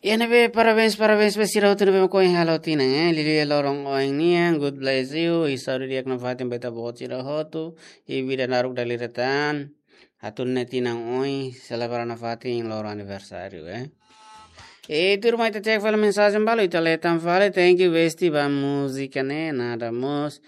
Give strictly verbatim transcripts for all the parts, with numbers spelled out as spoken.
Iha ne'ebé parabéns, parabéns ba sira hotu ne'ebé mak ohin halo tinan, eh. Liuliu iha loron ohin nian, God bless you. I saúde di'ak nafatin ba ita-boot sira hotu. I vida naruk dala ida tan. Atu nune'e tinan oin, selebra nafatin loron aniversáriu, eh. E tuirmai ita cek fali mensajen balu, ita lee tan fali, thank you, Besti, ba múzika ne'e, nada mós.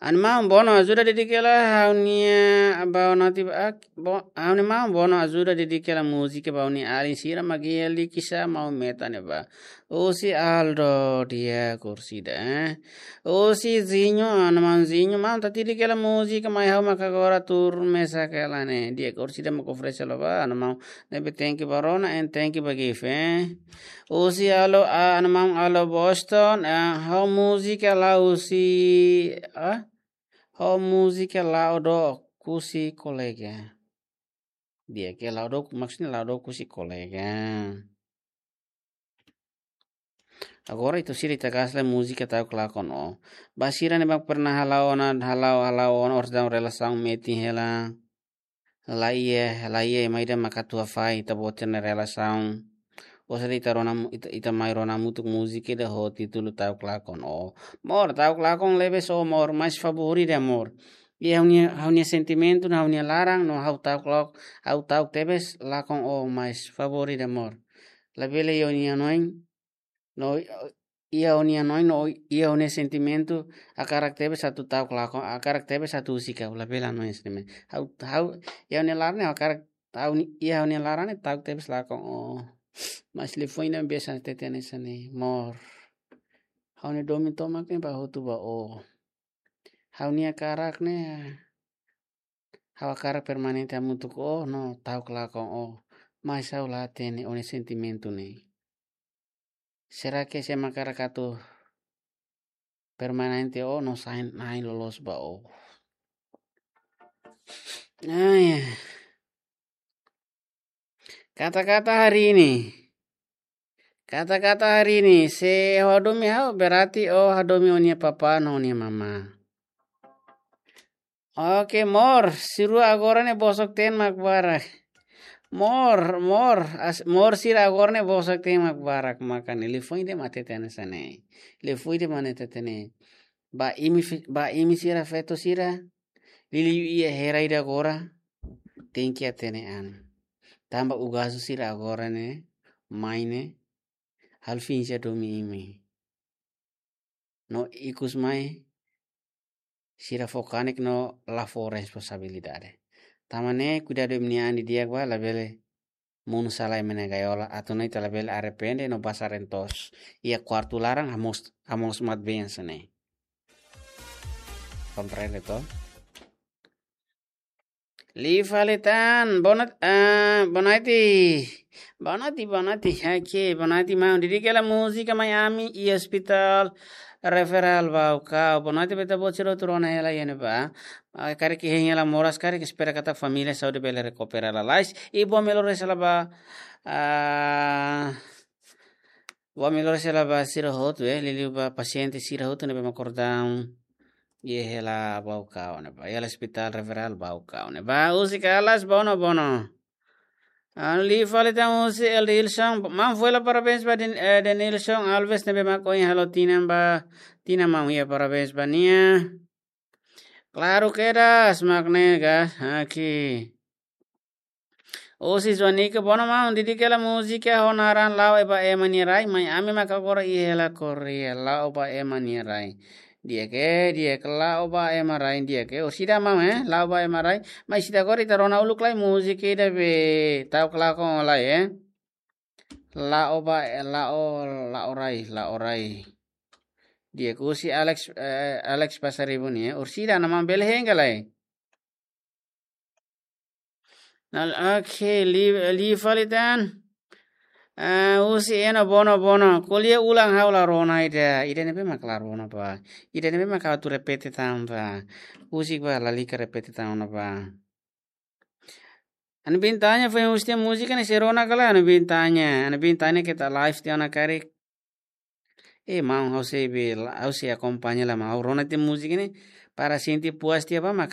Animaun, bono ajuda dedika hela ha'u-nia, ba ona ti ba, ak-, bo-, animaun, bono ajuda dedika hela múzika ba ha'u-nia alin sira mak iha Likisá, Maumeta ne'ebá. Husi Aldo, di'ak orsida, eh. Husi Zinho, animaun Zinho, maun, tati dedika hela múzika, mai ha'u maka agora tuur mesak hela ne'e. Di'ak orsida mak oferese hela ba, animaun, ne'ebé thank you ba rona, and thank you ba gift, eh. Husi Alo, ah, animaun Alo Boston, eh, ha'u múzika la husi, ah, ha'u múzika la'o dook husi kolega. Di'ak, la'o dook, maksudnya la'o dook husi kolega. Agora ita sira ita kasih múzika ta'uk lakon ó. Ba sira ne'ebé pernah hala'o ona, hala'o, hala'o ona, orsida relasaun metin hela. La iha, la iha ema ida mak atu hafai ita-boot sira-nia relasaun. Orsida ita rona mu-, ita, ita mai rona hamutuk múzika ida ho títulu Ta'uk Lakon Ó. Mor, ta'uk lakon lebes ó, mor, mais favór ida, mor. Iha ha'u-nia, ha'u-nia sentimentu, no ha'u-nia laran, no ha'u ta'uk lak-, ha'u ta'uk tebes lakon ó, mais favór ida, mor. Labele iha ha'u-nia hanoin, no iha ha'u-nia hanoin, no iha ha'u-nia sentimentu, hakarak tebes atu ta'uk lakon, hakarak tebes atu husik ha'u, labele hanoin hanesan ne'e. Ha'u, ha'u, iha ha'u-nia laran ne'e hakarak, ha'u-nia, iha ha'u-nia laran ne'e ta'uk tebes lakon ó. Mais liafuan ida biasa hatete hanesan ne'e, mor. Ha'u-nia domin tomak ne'e ba hotu ba ó. Ha'u-nia hakarak ne'e, ha'u hakarak permanente hamutuk ó, no ta'uk lakon ó. Mais ha'u la hatene ó-nia sentimentu ne'e. Será que sé mak hakarak atu permanente ó, no sai na'in loloos ba ó? Ai. Kata-kata hari ini. Kata-kata hari ini, se ó hadomi ha'u, berarti ó hadomi ó-nia papá no ó-nia mamá. Oke, mor, sira agora ne'e bosok-teen mak barak. Mor, mor, as-, mor sira agora ne'e bosok-teen mak barak, maka ne'e liafuan ida mak hatete hanesan ne'e. Liafuan ida mak hatete ne'e. Ba imi fe-, ba imi sira feto sira, liuliu iha hera ida agora, tenke hatene an. Tanba ugasu sira agora ne'e, mai ne'e, halo finja domi imi. No ikus mai, sira fó kanek no la fó responsabilidade. Tanba ne'e kuidadu imi-nia an didi'ak ba, labele monu sala ema nia gaiola, atu nune'e ita labele arrepende no basa rentos. Iha kuartu laran, hamoos, hamoos mat-been hanesan ne'e. Komprende to? Liu fali tan, boa noite, ah, boa noite. Boa noite, boa noite. Oke, boa noite, maun. Dedika hela múzika mai ami iha Hospital Referral Baucau. Boa noite ba ita-boot sira hotu rona hela iha ne'ebá. Ah, karik hein hela moras, karik espera katak família saúde bele rekupera lalais. I boa melhoras hela ba, ah, boa melhoras hela ba sira hotu, eh, liuliu ba pasiente sira hotu ne'ebé mak kordau. Iha hela Baucau ne'ebá, iha Hospital Referral Baucau ne'ebá. Husi Kalas, bono, bono. Anu liu fali tan husi Eldilson, maun fó hela parabéns ba Den-, eh, Denilson Alves ne'ebé mak ohin halo tinan ba, tinan maun, iha parabéns ba nia. Klaru kedas, mak ne'e ka, aki. Husi Joanica, bono maun, dedika hela múzika ho naran La'o ba Ema nia Rai, mai ami maka agora iha hela Korea, La'o ba Ema nia Rai. Di'ak, di'ak, La'o ba Ema rai, di'ak. Orsida maun, eh, La'o ba Ema rai. Mais ita agora ita rona uluk lai múzika ida be ta'uk lakon ó lai, eh. La'o ba, eh, La'o, La'o Rai, La'o Rai. Di'ak, husi Alex, eh, Alex Pasaribu nian, eh. Orsida, nia maun bele hein ka lae? Nal, oke, liu, liu fali tan. Ah, husi Eno, bono, bono. Ko'alia ulang, ha'u la rona ida. Ida ne'ebé mak la rona ba. Ida ne'ebé mak ha'u atu repete tan ba. Husik ba, lalika repete tan ona ba. Anu bin tanya, foin husi tiha múzika ne'e sei rona ka lae, anu bin tanya. Anu bin tanya keta live tiha ona karik. Eh, maun, ha'u sei be la, ha'u sei akompaña la, maun. Ha'u rona tiha múzika ne'e, para sente puas tiha ba, mak